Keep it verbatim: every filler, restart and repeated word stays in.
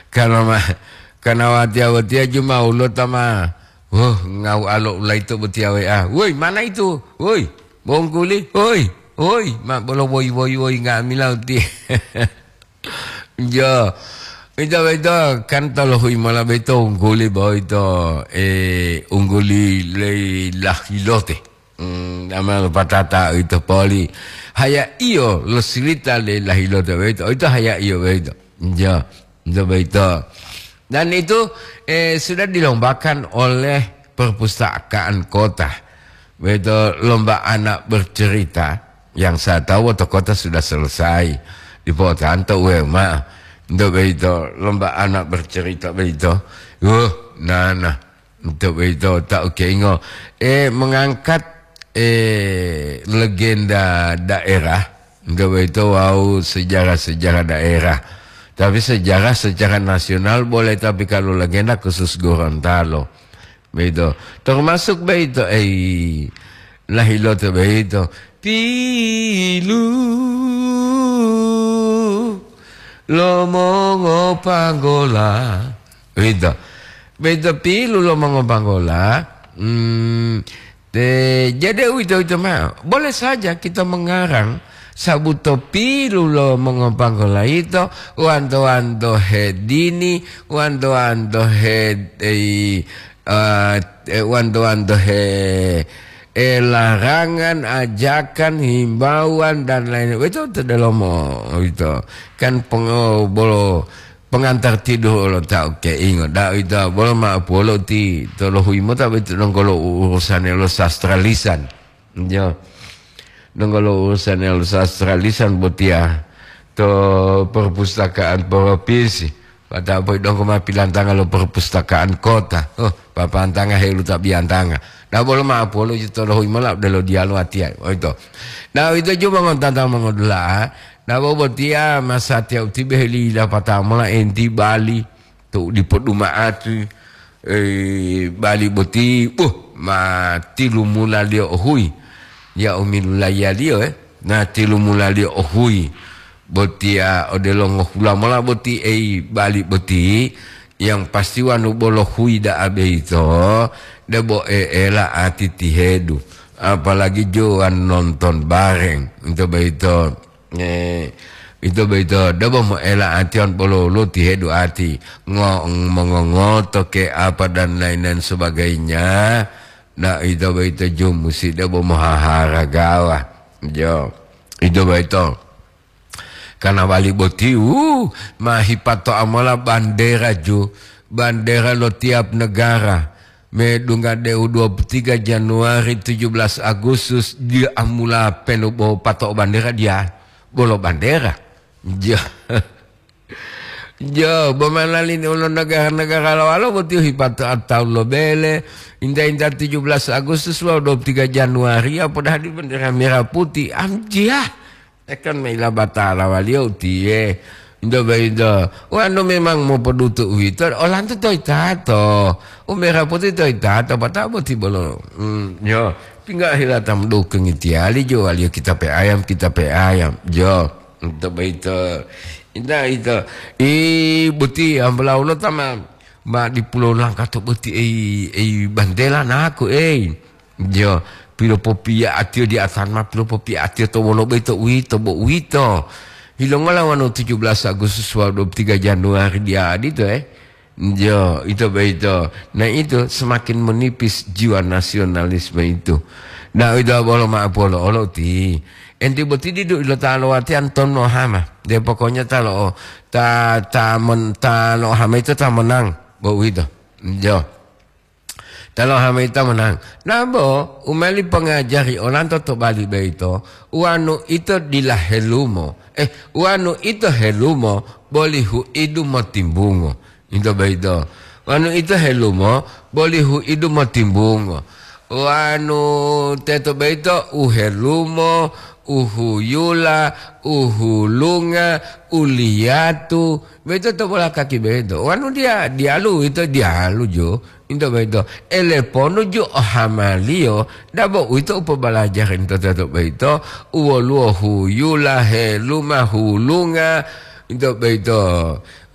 Karena ma-, karena watiya-watiya jumawulo ta ma, huh, ngau alo ulaito botiya we a. Woi, mana itu? Woi, bongkuli. Woi, woi, ma bolo woi, woi, woi, nga'amila uti. Jo, ito, ito, kan tolohui mola beito ungguli boito, eh, ungguli le lahilote. Hmm, ama patata ito poli. Haya iyo lo silita le lahilote boito, ito haya iyo boito. Jo, ito boito. Dan itu, eh, sudah dilombakan oleh perpustakaan kota. Boito lomba anak bercerita. Yang saya tahu, waktu kota sudah selesai. Dipotanto uwe ma. Untuk begitu, lomba anak bercerita begitu. Uh, nah, nah. Untuk begitu, tak oke ingo. Eh, mengangkat, eh, legenda daerah. Untuk begitu, wow, sejarah-sejarah daerah. Tapi sejarah secara nasional boleh, tapi kalau legenda khusus Gorontalo. Beito. Termasuk beito, eh, lahilote beito. Pilu lo mongopanggola. Beito. Beito pilu lo mongopanggola. Hmm, te, jadi uwito-wito mao. Boleh saja kita mengarang sabuto pilu lo mongopanggola ito, wanto-wanto hedini, wanto-wanto he-, eh, eh, eh, wanto-wanto he-, eh, larangan, ajakan, himbauan, dan lain-lain. Itu to delomo, itu. Kan peng-, bolo pengantar tidur lo ta oke ingo. Da itu bolo ma polo ti to lohui mota betu nonggolo urusan lo sastra lisan. Ya. Nonggolo urusan lo sastra lisan botia to perpustakaan provinsi. Pada apa dongko ma pilantanga lo perpustakaan kota. Oh, papantanga helu ta biantanga. Nah, bolo ma polo ito lo hoi mola delo dialo atia. Oh, itu. Nah, itu cuma ngontanta mongodula. Nah, bo botia masa tia utibe heli dapata mola enti Bali. To dipo duma'ati, eh, bali boti, buh, ma tilumulaliyo ohui. Ya umilulaiya liyo, eh, na tilumulaliyo ohui. Botiya odelo ngohula mola boti, ei, bali boti, yang pasti wanu bolo hui da'a beito, debo e'ela ati tihedu. Apalagi jo wan nonton bareng, ito beito. Eh, ito boyito debo moela atiyon bolo-bolo tihedu ati, ngo-, mongongoto ke apa dan lain-lain sebagainya. Nah, ito boyito ju musi debo mohahara gawa. Jo, ito boyito. Karena wali boti, uh, ma hipato amola bandera ju, bandera lo tiap negara. Medungga deu dua puluh tiga Januari, tujuh belas Agustus, dia amula penu bo pato bandera dia, bolo bandera. Ja. Ja, bo manali ni ulo negara-negara lawalo boti hipato atau lo bele, inta-inta tujuh belas Agustus lo dua puluh tiga Januari, apa dah di bendera merah putih, amjia. Ekon maila batala waliyo utiye. Ndo boyito, wanu memang mopodutu uwito, olanto toyitato. Umera poti toyitato, pata'o boti bolo. Hmm, yo, tinggal hilata mendukung itiyali jo waliyo kita pe ayam, kita pe ayam. Jo, ndo boyito. Inda ito, i boti ambola ulo tama, ma di pulau Langkato boti ei, ei bandela naku, ei. Jo, pilopopiya atiyo di atama, pilopopiya atiyo to wolo boyito uwito, bo uwito. Yilongola wonu tujuh belas Agustus wawu dua puluh tiga Januari dia adito, eh. Jo, ito boyito. Nah, itu semakin menipis jiwa nasionalisme itu. Nah, ito bolo ma'o polo olo ti. Enti boti didu ilo ta lowatiyan tonno hama. De pokoknya ta lo, ta, ta men-, ta lo hama itu ta menang. Bo uwito. Jo. Talo hama ito menang. Nabo, u meli pongajari olanto to bali boyito, uwanu ito dila helumo. Eh, uwanu ito helumo, boli hu'idu motimbungo. Ito boyito. Uwanu ito helumo, boli hu'idu motimbungo. Uwanu teto boyito, u helumo, u huyula, u hulunga, u liyatu. Boyito to bola kaki boyito. Uwanu dia, dialu ito dialu jo. Into boyito, ele ponu ju ohamaliyo, dabo uwito u pobalajari into teto boyito, u woluwo huyula, heluma, hulunga, into boyito.